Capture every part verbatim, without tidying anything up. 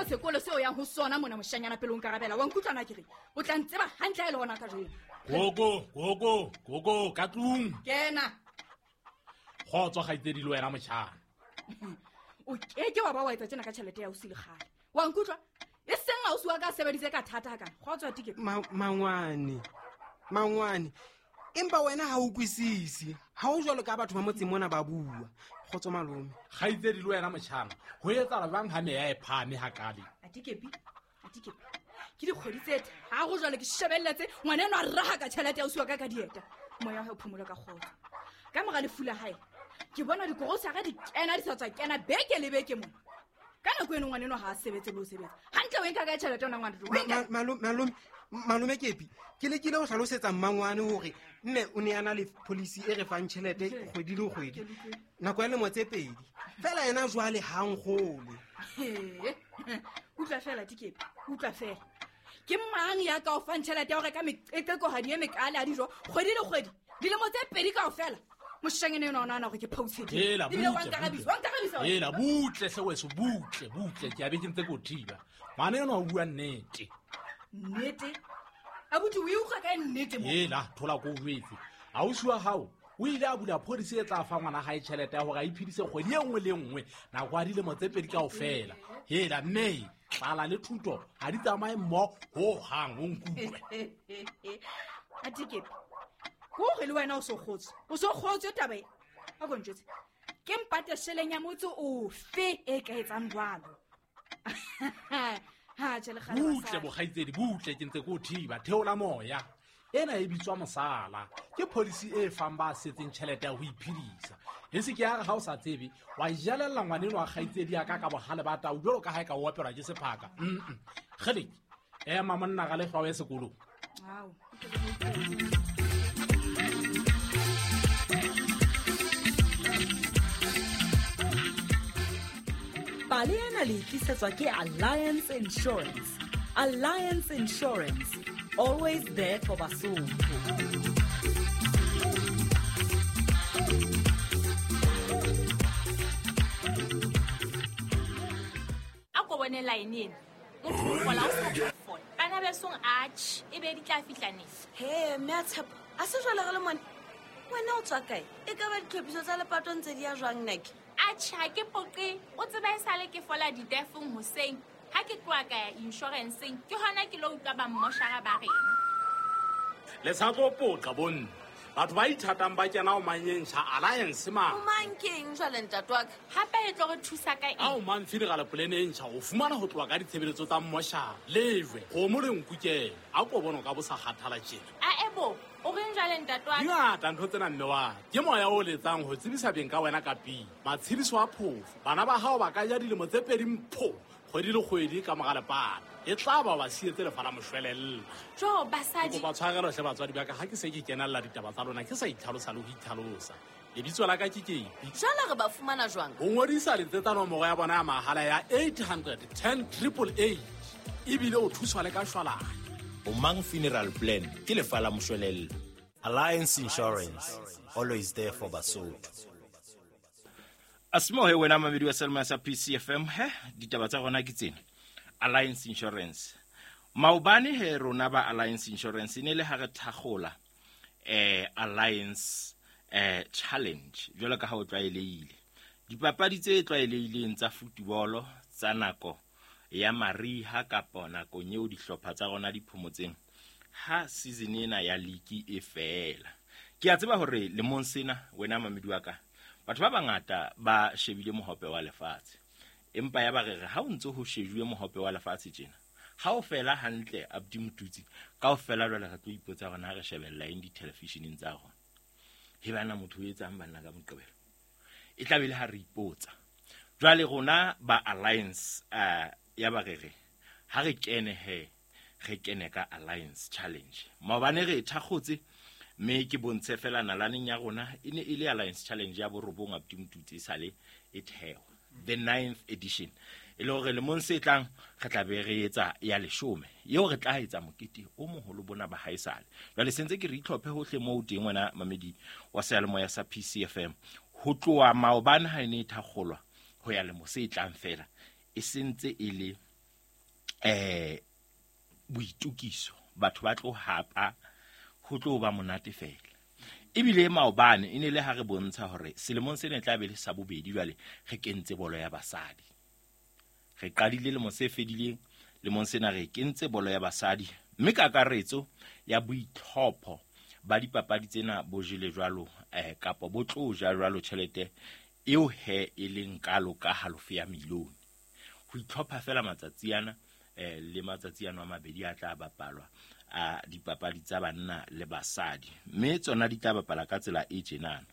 sekolo seo yang ho sona mona moshanyana pele o nkarabela. Wa nkutlwana ke re o tla ntseba hantle ha e le hona ka jeno. Gogo, gogo, gogo, ka tlung. Kena. Kgotso kgaitsedi le wena motjhana. O keke wa ba wa etsa tjena ka tjhelete ya o sile kgale. Wa nkutlwa? E seng ausi wa ka sebeditse ka thata hakana. Kgotso a tike. Mangwane. Mangwane. Empa wena ha o kwisisi. Ha o jwalo ka batho ba motseng mona ba bua. Kgotso malome. Kgaitsedi le wena motjhana. Ho etsahala jwang ha meya e phahame hakale? Atikepi. Atikepi. Ke dikgwedi tse tharo jwale ke shebelletse ngwana enwa a raha ka tjhelete ya ausi wa ka ka dieta. Moya wa hae o phomole ka kgotso. Ka mora lefu la hae, ke bona dikorosara di kena di sa tswa kena beke le beke mona. Ka nako eno ngwana enwa ha a sebetse le ho sebetsa. Hantle o e nka ka tjhelete yona ngwana. Malome, malome, malome Kepi, ke lekile ho hlalosetsa mmangwane hore mme o ne a na le policy e re fang tjhelete kgwedi le kgwedi. Nako ya lemo tse pedi. Fela yena jwale ha nkgolwe. Utlwa fela Tikepi, utlwa fela. Ke mang ya ka o fang tjhelete ya ho reka meqeqekohadi e mekale a dijo kgwedi le kgwedi? Dilemo tse pedi kaofela. Moshanyana enwa o nahana hore ke phoutshe. Hela, Ebile wa nkarabisa, wa nkarabisa wena. Hela, butle hle weso, butle, butle. Ke a be ke ntse ke o thiba. Ngwana enwa o bua nnete. Nnete? Abuti, o e utlwa kae nnete mo? Hela, thola ko o jwetse. Ausi wa hao o ile a bula policy e tla fa ngwana hae tjhelete ya hore a iphedise kgwedi e nngwe le nngwe nako ya dilemo tse pedi kaofela. Hela, mme tlala le thuto ha di tsamaye mmoho hohang, o nkutlwe. Atikepi, ke hore le wena o so kgotswe. O so kgotswe taba e. A ko ntjwetse. Ke mpate sheleng ya motse ofe e ka etsang jwalo? Ha, tjhe, le kgale Butle, basadi. bokgaitsedi, butle, ke ntse ke o thiba. Theola moya. Ena e bitswa mosala. Ke policy e fang ba setseng tjhelete ya ho iphedisa. E se ke ya re ha o sa tsebe, wa jelella ngwaneno wa kgaitsedi ya ka ka bohale ba tau jwalo ka ha e ka o opelwa ke sephaka. Mm-mm. Kgeleke, ema monna ga lehlwa o ye sekolong. Ao. Pale ena le tlisetswa ke Alliance Insurance. Alliance Insurance, always there for Basotho. A ko bone line ena. Motho o fola o sa fola. Bana besong atjhe, e be di tla fihla neng? He, mme a Tshepo, a se jwale re le mone. Wena o tswa kae? E ka ba ditlhophiso tsa lepato ntse di ya jwang nake? Atjhe, ha ke poqe. O tseba esale ke fola ditefong hoseng. Ha ke tloha ka ya insurance-eng, ke hona ke lo utlwa ba mmoshara ba reng. Le sa tlo poqa bonne. Batho ba ithatang ba kena ho manyentjha Alliance mang. O mang keng jwale ntate wa ka? Hape e tlo re thusa ka eng? Ha o mang funeral plan e ntjha, o fumana ho tloha ka ditshebeletso tsa mmoshara. Lejwe, kgomo le nku kena. A ko bone o ka bo sa kgathala tjena. A ebo, o reng jwale ntate wa ka? Di ngata ntho tsena mme wa ka. Ke moya o letsang ho tsebisa beng ka wena ka pele. Matshediso a phofo. Bana ba hao ba ka ja dilemo tse pedi mpho. Kgwedi le kgwedi ka mora lepato. E tla ba ba sietse lefa la moshwelella. Jo, basadi. Ke kopa tshwarelo hle batswadi ba ka, ha ke se ke kenella ditaba tsa lona, ke sa itlhalosa le ho itlhalosa. Lebitso la ka ke Kepi. Jwale re ba fumana jwang? Ho ngodisa letsetsa nomoro ya bona ya mahala ya eight hundred ten triple eight. Ebile o thuswa le ka shwalane. Omang Funeral Plan ke lefa la moshwelella. Alliance Insurance, always there for Basotho. Asimohe wena mamedi wa Selma sa P C F M, he ditaba tsa rona ke tsena. Alliance Insurance. Maobane he rona ba Alliance Insurance e ne le ha re thakgola, eh, Alliance, eh, Challenge jwalo ka ha o tlwaelehile. Dipapadi tse tlwaelehileng tsa football tsa nako ya mariha kapa nakong eo dihlopha tsa rona di phomotseng ha season ena ya league e fela. Ke a tseba hore lemong sena wena mamedi wa ka, batho ba bangata ba shebile mohope wa lefatshe. Empa ya ba re re ha o ntse ho shejuwe mohope wa lefatshe tjena, ha o fela hantle Abdi Motutsi, kaofela jwale re tlo ipotsa hore na re shebella eng di-television-eng tsa rona. He bana motho o etsang banna ka Moqebelo. E tla be le ha re ipotsa. Jwale rona ba Alliance, eh, ya ba re re ha re kene he, re kene ka Alliance Challenge. Maobane re e thakgotse, mme ke bontshe fela nalaneng ya rona e ne e le Alliance Challenge ya borobong Abdi Motutsi e sale e thewa, the ninth edition. E le hore lemong se tlang re tla be re etsa ya leshome, eo re tla etsa mokete o moholo bona ba haesale. Jwale sentse ke re itlhophe hohle moo teng wena mamedi wa seyalemoya sa P C F M, ho tloha maobane ha e ne e thakgolwa ho ya lemo se tlang fela, e sentse e le eh boitukiso, batho ba tlo hapa, ho tlo ba monate fela. Ebile maobane e ne le ha re bontsha hore selemong sena e tla be le sa bobedi jwale re kentse bolo ya basadi. Re qadile lemong se fedileng, lemong sena re kentse bolo ya basadi, mme kakaretso ya boitlhopho ba dipapadi tsena bo jele jwalo eh kapa bo tlo ja jwalo tjhelete eo he e leng kalo ka halofo ya milione. Ho itlhopha fela matsatsi ana eh le matsatsi ano a mabedi a tla bapalwa a dipapadi tsa banna le basadi, mme tsona di tla bapala ka tsela e tjenana.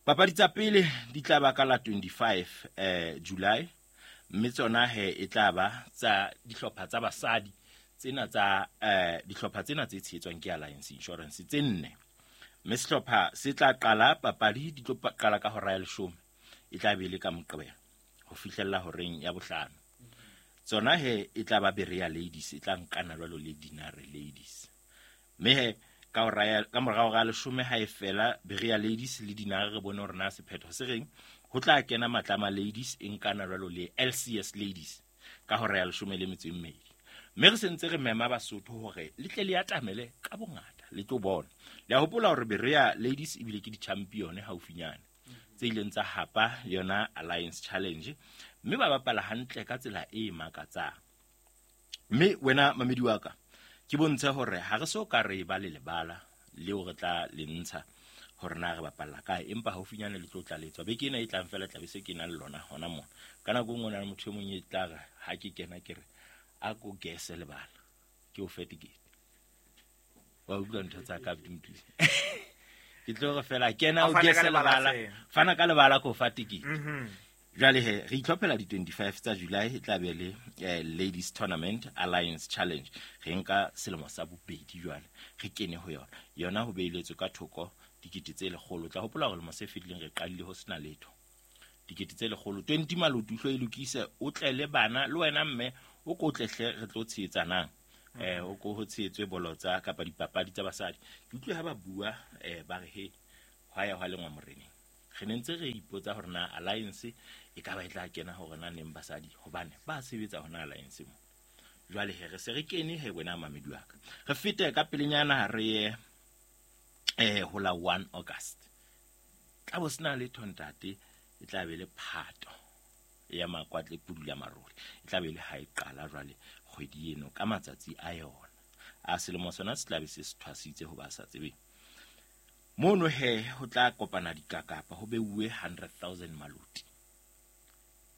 Papadi tsa pele di tla ba ka la twenty-five eh July, mme tsona he e tla ba tsa dihlopha tsa basadi tsena tsa eh dihlopha tsena tse tshehetswang ke Alliance Insurance tse nne. Mme sehlopha se tla qala papadi di tlo qala ka hora ya leshome, e tla be le ka Moqebelo ho fihlella horeng ya bohlano. Tsona he e tla ba Berea Ladies, e tla nkana jwalo le Dinare Ladies. Mme he ka hora ya ka morao ga leshome ha e fela Berea Ladies le Dinare re bone hore na sephetho se reng, ho tla kena Matlama Ladies e nkana jwalo le L C S Ladies ka hora ya leshome le metso e mmedi. Mme re sentse re mema Basotho hore le tle le atamele ka bongata le tlo bona. Le a hopola hore Berea Ladies ebile ke di-champion haufinyane tse ileng tsa hapa yona Alliance Challenge, mme ba bapala hantle ka tsela e makatsang. Mme wena mamedi wa ka, ke bontshe hore ha re so ka re ba le lebala leo re tla le ntsha hore na re bapalla kae, empa haufinyane le tlo tlaletswa. Beke ena e tlang fela tla be se ke na le lona hona mona. Ka nako e nngwe na le motho e mong e tla re ha ke kena ke re a ko gese lebala ke o fe tikete. Wa utlwa ntho tsa ka Mtusi. Ke tlo re fela kena o gese lebala, fana ka lebala ko fa tikete. Jwale he re itlhophela di twenty-five tsa July e tla be le eh, Ladies Tournament Alliance Challenge. Re nka selemo sa bobedi jwale re kene ho yona. Yona ho beiletswe ka thoko dikete tse lekgolo. Tla hopola hore lemo se fetileng re qadile ho sena letho. Dikete tse lekgolo twenty malotu hlo e lokise, o tle le bana le wena mme o ko tlehle re tlo tsheetsanang. Eh o ko ho tshehetswe bolo tsa kapa dipapadi tsa basadi. Ke utlwe ha ba bua eh ba re he hwa ya hwa lengwa moreneng. Re ne ntse re ipotsa hore na Alliance e ka ba e tla kena hore na neng basadi, hobane ba sebetsa hona Alliance mo. Jwale he re se re kene he wena mamedi wa ka. Re fete ka pelenyana re ye eh ho la one August. Tla bo sena letho ntate, e tla be le phato ya makwatle pudula marole. E tla be le ha e qala jwale kgwedi eno ka matsatsi a yona. A selemo sona se tla be se thwasitse ho ba sa tsebeng. Mono he ho tla kopana dikakapa ho beuwe hundred thousand maloti.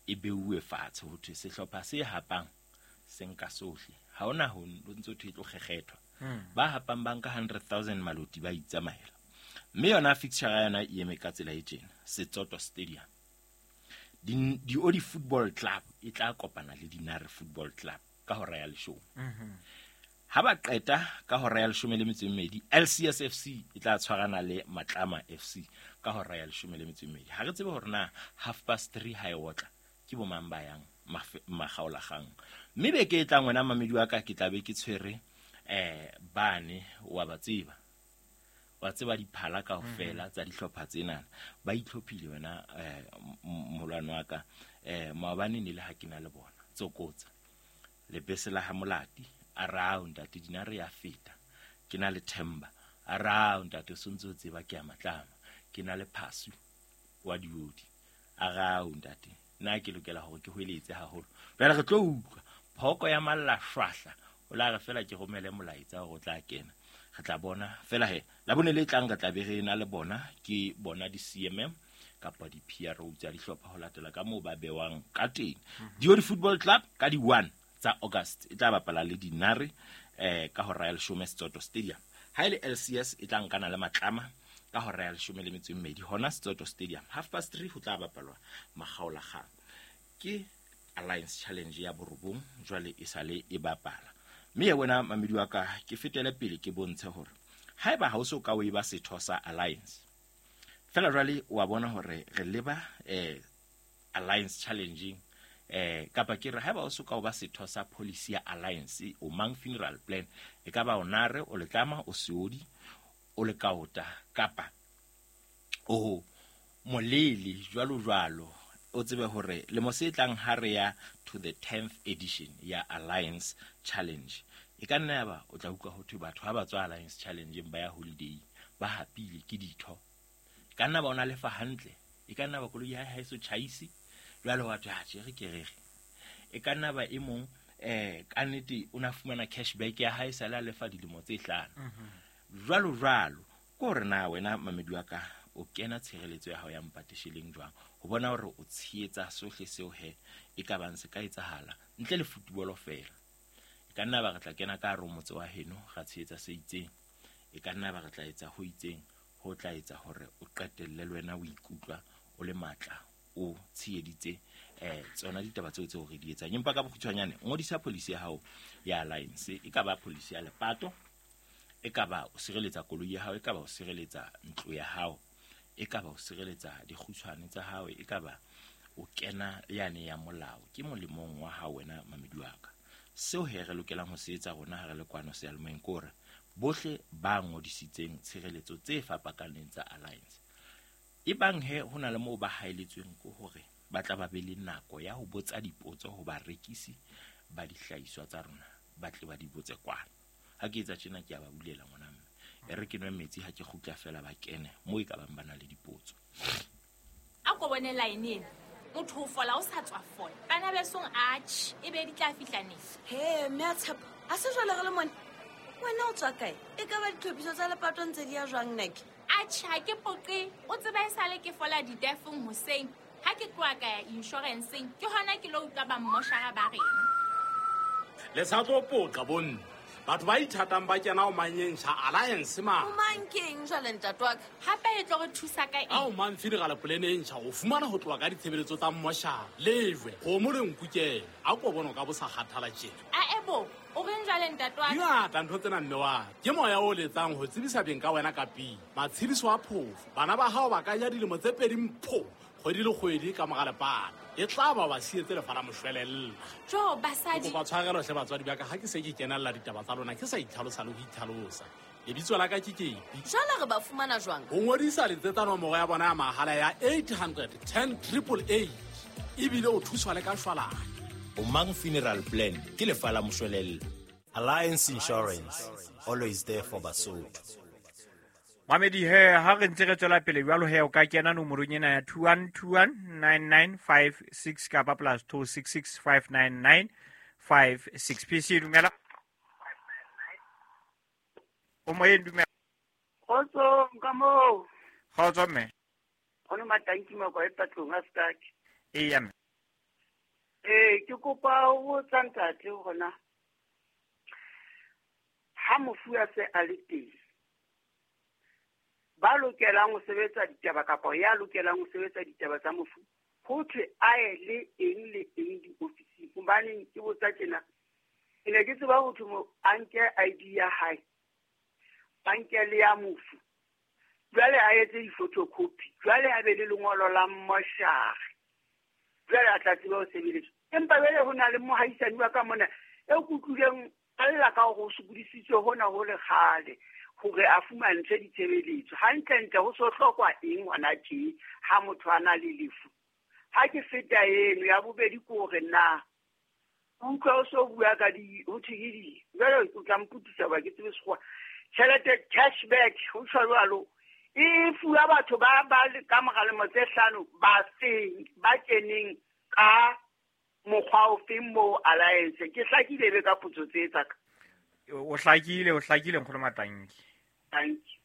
E beuwe fatshe ho thwe sehlopha se hapang se nka sohle. Ha hona ho ntso thwe tlo kgekgethwa. Ba hapang ba nka hundred thousand maloti ba itsamaela. Mme yona fixture ya yona e eme ka tsela e tjena, Setsoto Stadium. Di Diodi Football Club e tla kopana le Dinare Football Club ka hora ya leshome. Ha ba qeta ka hora ya leshome le metso e mmedi, L C S F C e tla tshwarana le Matlama F C ka hora ya leshome le metso e mmedi. Ha re tsebe hore na half past three ha e otla ke bo mang ba yang makgaolakgang. Mme beke e tlang wena mamedi wa ka ke tla be ke tshwere eh bane wa ba tseba. Wa tseba diphala kaofela tsa dihlopha tsena. Ba itlhophile wena eh molwana wa ka eh maobane ne le ha ke na le bona. Tsokotsa lebese la ha Molati a rao ntate Dinare ya feta. Ke na le Themba a rao ntate o sontse o tseba ke ya Matlama. Ke na le Phasu wa Diodi a rao ntate nna ke lokela hore ke hweletse haholo. Jwale re tlo utlwa phoko ya malla shwahla o la re fela ke romele molaetsa hore o tla kena. Re tla bona fela he la bone le tlang re tla be re na le bona ke bona di C M M kapa di P R O tsa dihlopha ho latela ka moo ba bewang ka teng. Diodi Football Club ka di one tsa August e tla bapala le Dinare eh ka hora ya leshome Setsoto Stadium. Ha ile L C S e tla nkana le Matlama ka hora ya leshome le metso e mmedi hona Setsoto Stadium. Half past three ho tla bapalwa makgaolakgang. Ke Alliance Challenge ya borobong jwale e sale e bapala. Mme wena mamedi wa ka ke fetele pele ke bontshe hore haeba ha o so ka o e ba setho sa Alliance fela jwale wa bona hore re leba eh Alliance Challenge eh kapa ke re haeba o so ka o ba setho sa policy ya Alliance o mang funeral plan e ka ba o nare o letlama o seodi o le kaota kapa o molele jwalo jwalo o tsebe hore lemo se tlang ha re ya to the tenth edition ya Alliance Challenge, e ka nna ya ba o tla utlwa ho thwe batho ha ba tswa Alliance Challenge ba ya holiday ba hapile ke ditho. E ka nna ba ona lefa hantle, e ka nna ba koloi ya hae so tjhaisi jwale wa thwe ha tjhe re ke re re. E ka nna ba e mong eh ka nnete o na fumana cashback ya hae sala lefa dilemo tse hlano. Jwalo jwalo ke hore na wena mamedi wa ka o kena tshireletso ya hao ya mpatesheleng jwang ho bona hore o tshehetsa sohle seo he e ka bang se ka etsahala ntle le football fela. E ka nna ba re tla kena ka hare ho motse wa heno ra tshehetsa se itseng, e ka nna ba re tla etsa ho itseng ho tla etsa hore o qetelle le wena o ikutlwa o le matla o tsheheditse eh tsona ditaba tseo tseo re di etsang. Empa ka bokgutshwanyane ngodisa policy ya hao ya Alliance, e ka ba policy ya lepato, e ka ba o sireletsa koloi ya hao, e ka ba o sireletsa ntlo ya hao, e ka ba o sireletsa dikgutshwane tsa hao, e ka ba o kena yane ya molao. Ke molemong wa hao wena mamedi wa ka. Seo he re lokelang ho se etsa rona ha re le kwano seyalemoyeng ke hore bohle ba ngodisitseng tshireletso tse fapakaneng tsa Alliance, e bang he ho na le moo ba haeletsweng ke hore ba tla ba be le nako ya ho botsa dipotso ho barekisi ba dihlahiswa tsa rona, ba tle ba di botse kwana. Ha ke etsa tjena ke a ba bulela ngwana mme e re ke nwe metsi ha ke kgutla fela ba kene moo e ka bang ba na le dipotso. A ko bone line ena, motho o fola o sa tswa fola bana besong atjhe e be di tla fihla neng? He mme a Tshepo, a se jwale re le mone wena o tswa kae? E ka ba ditlhophiso tsa lepato ntse di ya jwang nake? Atjhe ha ke poqe, o tseba e sale ke fola ditefong hoseng ha ke tloha ka ya insurance-eng ke hona ke lo utlwa ba mmoshara ba reng. Le sa tlo poqa bonne, batho ba ithatang ba kena o manyeng sha Alliance ma. O mang keng jwale ntate wa ka? Hape e tlo re thusa ka eng? Ha o mang funeral plan e ntjha o fumana ho tloha ka ditshebeletso tsa mmoshara, lejwe, kgomo le nkukela. A ko bona o ka bo sa kgathala tjena. A ebo, o reng jwale ntate wa ka? Dingata ntho tsena mme wa ka. Ke moya o letsang ho tsebisa beng ka wena ka pele. Matshediso a phofo, bana ba hao ba ka ja dilemo tse pedi mpho kgwedi le kgwedi ka mora lepato. E tla ba ba sietse lefa la moshwelella. Jo basadi. Kopa tshwarelo hle batswadi ba ka ha ke se ke kenella ditaba tsa lona ke sa itlhalosa le ho itlhalosa. Lebitso la ka ke Kepi. Jwale re ba fumana jwang? Ho ngodisa letsetsa nomoro ya bona ya mahala ya eight hundred ten triple eight. Ebile o thuswa le ka shwalane. O mang funeral plan ke lefa la moshwelella. Alliance Insurance, always there for Basotho. Mamedi he ha re ntse re tswela pele jwalo he o ka kena nomorong ena ya two one two one nine nine five six kapa plus two six six five nine nine five six. P C dumela. O moyeng dumela. Kgotso ka moo. Kgotso mme. Ono matanki mako e patlong a stuck. Eya mme. Eh ke kopa ho botsa ntate hore ha mofu a se a le teng, ba lokelang ho sebetsa ditaba kapa ya lokelang ho sebetsa ditaba tsa mofu ho thwe a ye le eng le eng diofising? Hobane ke botsa tjena, ke ne ke tseba ho thwe mo a nke I D ya hae, ba nke le ya mofu, jwale a etse di-photocopy, jwale a be le lengolo la mmoshare, jwale a tla tseba ho sebeletswa. Empa jwale ho na le mohaisane wa ka mona eo ke utlwileng a lla ka hore o sokodisitswe hona ho le kgale hore a fumantshwe ditshebeletso. Hantlentle ho so hlokwa eng hona tje ha motho a na le lefu? Ha ke feta eno ya bobedi ke hore na utlwa o so bua ka di ho thwe ke di jwale o tla mpotisa hoba ke tsebe sekgowa. Tjhelete cashback ho tjho jwalo e fuwa batho ba ba ka mora lemo tse hlano ba feng ba keneng ka mokgwa ofeng moo Alliance. Ke hlakile be ka potso tse tsa ka. O hlakile, o hlakile nkgono Matanki. Thank you.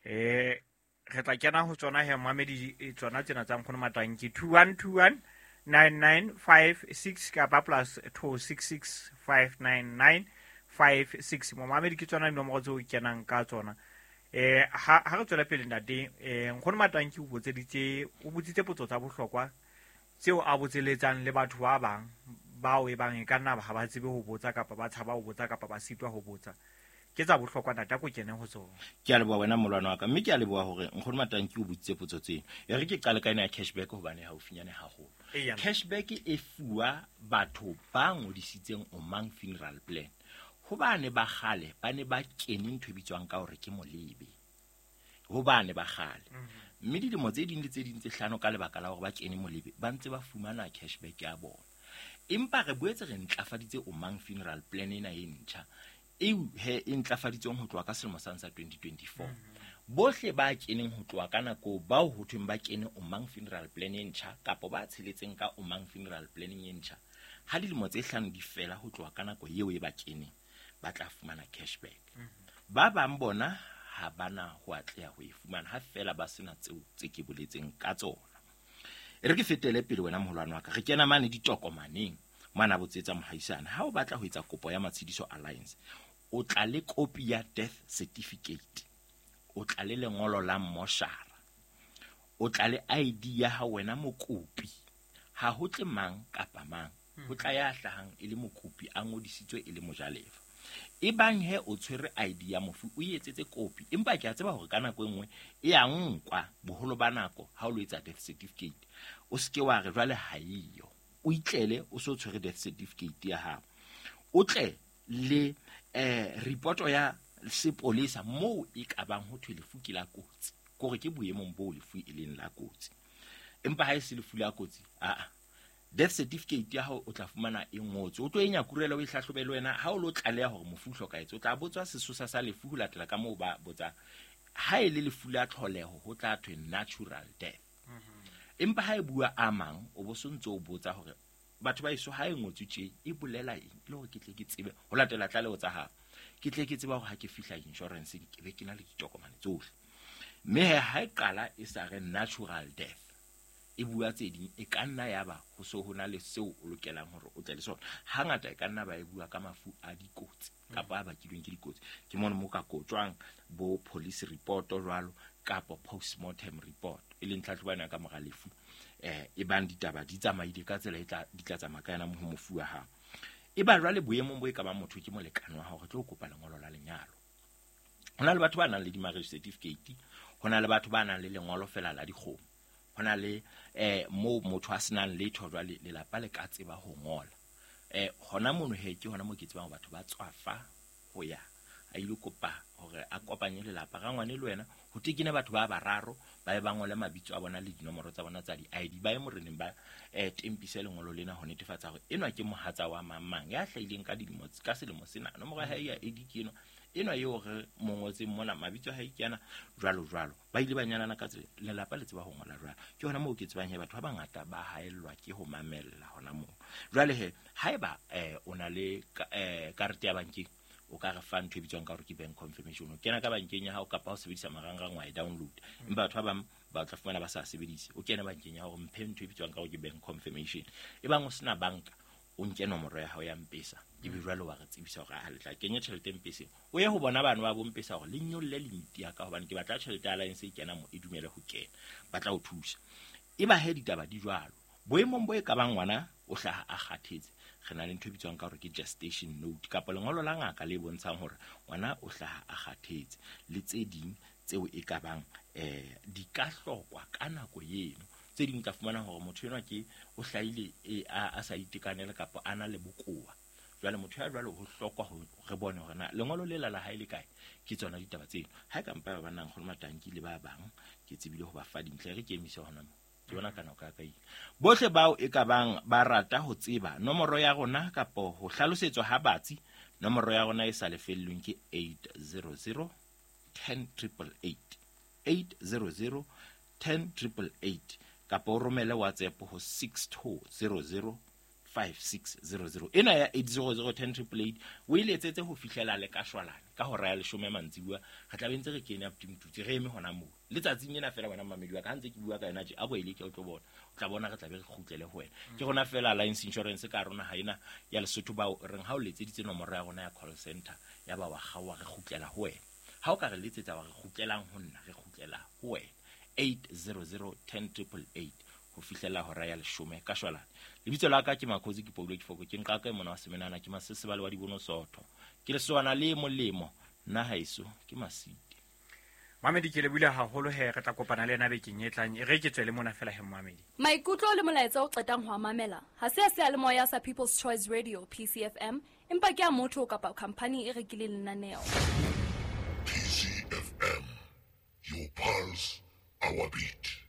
Eh re tla kena ho tsona he mamedi tsona tsena tsa nkgono Matanki two one two one nine nine five six kapa plus two six six five nine nine five six. Momamedi ke tsona dinomoro tseo kenang ka tsona. Eh ha ha re tswela pele ntate eh nkgono Matanki o botseditse o botsitse potso tsa bohlokwa tseo a botseletsang le batho ba bang bao e bang e ka nna ha ba tsebe ho botsa kapa ba tshaba ho botsa kapa ba sitwa ho botsa. Ke tsa bohlokwa ntate a ko kene ho tsona. Ke a leboha wena molwana wa ka, mme ke a leboha hore nkgono Matanki o botsitse potso tseno. E re ke qale ka ena ya cashback hobane haufinyane haholo. Cashback e fuwa batho ba ngodisitseng Omang funeral plan. Hobane ba kgale ba ne ba kene ntho e bitswang ka hore ke molebe. Ho bane ba kgale. Mme dilemo tse ding le tse ding tse hlano ka lebaka la hore ba kene molebe ba ntse ba fumana cashback ya bona. Empa re boetse re ntlafaditse Omang funeral plan ena e ntjha eo he e ntlafaditsweng ho tloha ka selemo sa twenty twenty-four. Bohle ba keneng ho tloha ka nako bao ho thweng ba kene Omang funeral plan e ntjha kapa ba tsheletseng ka Omang funeral plan e ntjha, ha dilemo tse hlano di fela ho tloha ka nako eo e ba keneng, ba tla fumana cashback. Ba bang bona ha bana ho atleha ho e fumana ha fela ba sena tseo tse ke boletseng ka tsona. E re ke fetele pele wena moholwane wa ka, re kena mane ditokomaneng mane botsetsa mohaisana. Ha o batla ho etsa kopo ya Matshidiso Alliance, o tla le kopi ya death certificate, o tla le lengolo la moshara, o tla le I D ya hao wena mokopi. Ha ho tle mang kapa mang, ho tla ya hlahang e le mokopi a ngodisitswe e le mojalefa. E bang he o tshwere I D ya mofu o etsetse kopi, empa ke a tseba hore ka nako e nngwe e a nkwa boholo ba nako ha o lo etsa death certificate. O seke wa re jwale ha eyo, o itlele o so tshwere death certificate ya hao, o tle le eh report ya sepolesa moo e ka bang ho thwe lefu ke la kotsi, kore ke boemong bo lefu e leng la kotsi. Empa ha e se lefu la kotsi, a a death certificate ya hao o tla fumana e ngotswe, o tlo e nyakurela o e hlahlobe le wena. Ha o lo tlaleha hore mofu o hlokahetse, o tla botswa sesosa sa lefu ho latela ka moo ba botsa. Ha e le lefu la tlholeho ho tla thwe natural death. Empa ha e bua a mang, o bo sontso o botsa hore batho ba eso ha e ngotswe tje e bolela eng, le hore ke tle ke tsebe ho latela tlaleho tsa hao, ke tle ke tseba hore ha ke fihla insurance ke be ke na le ditokomane tsohle. Mme he ha e qala e sa re natural death, e bua tse ding, e ka nna ya ba ho so ho na le seo o lokelang hore o tle le sona. Hangata e ka nna ba e bua ka mafu a dikotsi kapa a bakilweng ke dikotsi. Ke mona mo ka kotjwang bo police report jwalo kapa postmortem report, e leng tlhatlhobo ya ka mora lefu. Eh e bang ditaba di tsamaile ka tsela e tla di tla tsamaya ka yona ho mofu wa hao. E ba jwale boemong bo e ka ba motho ke molekane wa hao, re tlo kopa lengolo la lenyalo. Ho na le batho ba nang le di-marriage certificate, ho na le batho ba nang le lengolo fela la dikgomo, ho na le eh mo motho a senang letho jwale lelapa le ka tseba ho ngola. Eh hona mono he ke hona mo ke tsebang batho ba tswafa ho ya a ile kopa hore a kopanye lelapa ga ngwane le wena, ho tekene batho ba bararo ba e ba ngole mabitso a bona le dinomoro tsa bona tsa di-I D, ba ye moreneng ba eh tempise lengolo lena ho netefatsa hore enwa ke mohatsa wa mang mang ya hlahileng ka dilemo ka selemo sena, nomoro ya hae ya I D ke enwa, enwa eo re mo ngotseng mona, mabitso a hae ke ana, jwalo jwalo. Ba ile ba nyalana ka tsela, lelapa le tseba ho ngola jwalo. Ke hona moo ke tsebang he batho ba bangata ba haellwa ke ho mamella hona moo. Jwale he haeba eh o na le eh karete ya bankeng, o ka re fa ntho e bitswang ka hore ke bank confirmation. O kena ka bankeng ya hao kapa o sebedisa marangrang wa e download. Empa batho ba bang ba tla fumana ba sa sebedise. O kena bankeng ya hao mphe ntho e bitswang ka hore ke bank confirmation. Ebang o sena banka, o nke nomoro ya hao ya M-Pesa, ebe jwale wa re tsebisa hore ha le tla kenya tjhelete M-Peseng, o ye ho bona bana ba bo M-Pesa hore le nyolle limit ya ka, hobane ke batla tjhelete ya Alliance e kena mo e dumele ho kena, ba tla o thusa. Eba he ditaba di jwalo, boemong bo e ka bang ngwana o hlaha a kgathetse, re na le ntho e bitswang ka hore ke gestation note kapa lengolo la ngaka le bontshang hore ngwana o hlaha a kgathetse, le tse ding tseo e ka bang eh di ka hlokwa ka nako eno. Tse ding tla fumana hore motho enwa ke o hlahile e a, a sa itekanela kapa a na le bokowa. Jwale motho ya jwalo ho hlokwa ho re bone hore na lengolo le la la hae le kae. Ke tsona ditaba tseno. Ha e ka mpa ba nang kgone matanki le ba bang ke tsebile ho ba fa dintle, re ke emise hona mo. Ke bona ka nako ya ka ile. Bohle bao e ka bang ba rata ho tseba nomoro ya rona kapa ho hlalosetswa ha batsi, nomoro ya rona e sa lefellweng ke eight zero zero ten triple eight, eight zero zero ten triple eight, kapa o romele WhatsApp ho six two zero zero five six zero zero. Ena ya eight zero zero ten triple eight o e letsetse ho fihlela le ka shwalane ka hora ya leshome mantsibuya. Re tla be ntse re kene up to re eme hona moo letsatsing lena fela. Wena mamedi wa ka ha ntse ke bua ka yona tje, a bo ele ke o tlo bona, o tla bona re tla be re kgutlele ho wena. Ke rona fela Alliance Insurance ka rona ha ena ya Lesotho bao reng ha o letseditse nomoro ya rona ya call center ya ba wa kgaowa, re kgutlela ho wena. Ha o ka re letsetsa wa re kgutlelang ho nna, re kgutlela ho wena. Eight zero zero ten triple eight ho fihlela hora ya leshome ka shwalane. Lebitso la ka ke Makhosi, ke Paulo Kifoko, ke nqaka e mona wa semenana, ke masesebale wa dibono sotho, ke lesowana le molemo, nna haeso ke Masite. Mamedi, ke lebohile haholo he, re tla kopana le yena bekeng e tlang. E re ke tswele mona fela he Mamedi. Maikutlo le molaetsa o qetang ho a mamela ha se a seyalemoya sa People's Choice Radio P C F M, empa ke a motho kapa khampani e rekileng lenaneo. P C F M, Your pulse, our beat.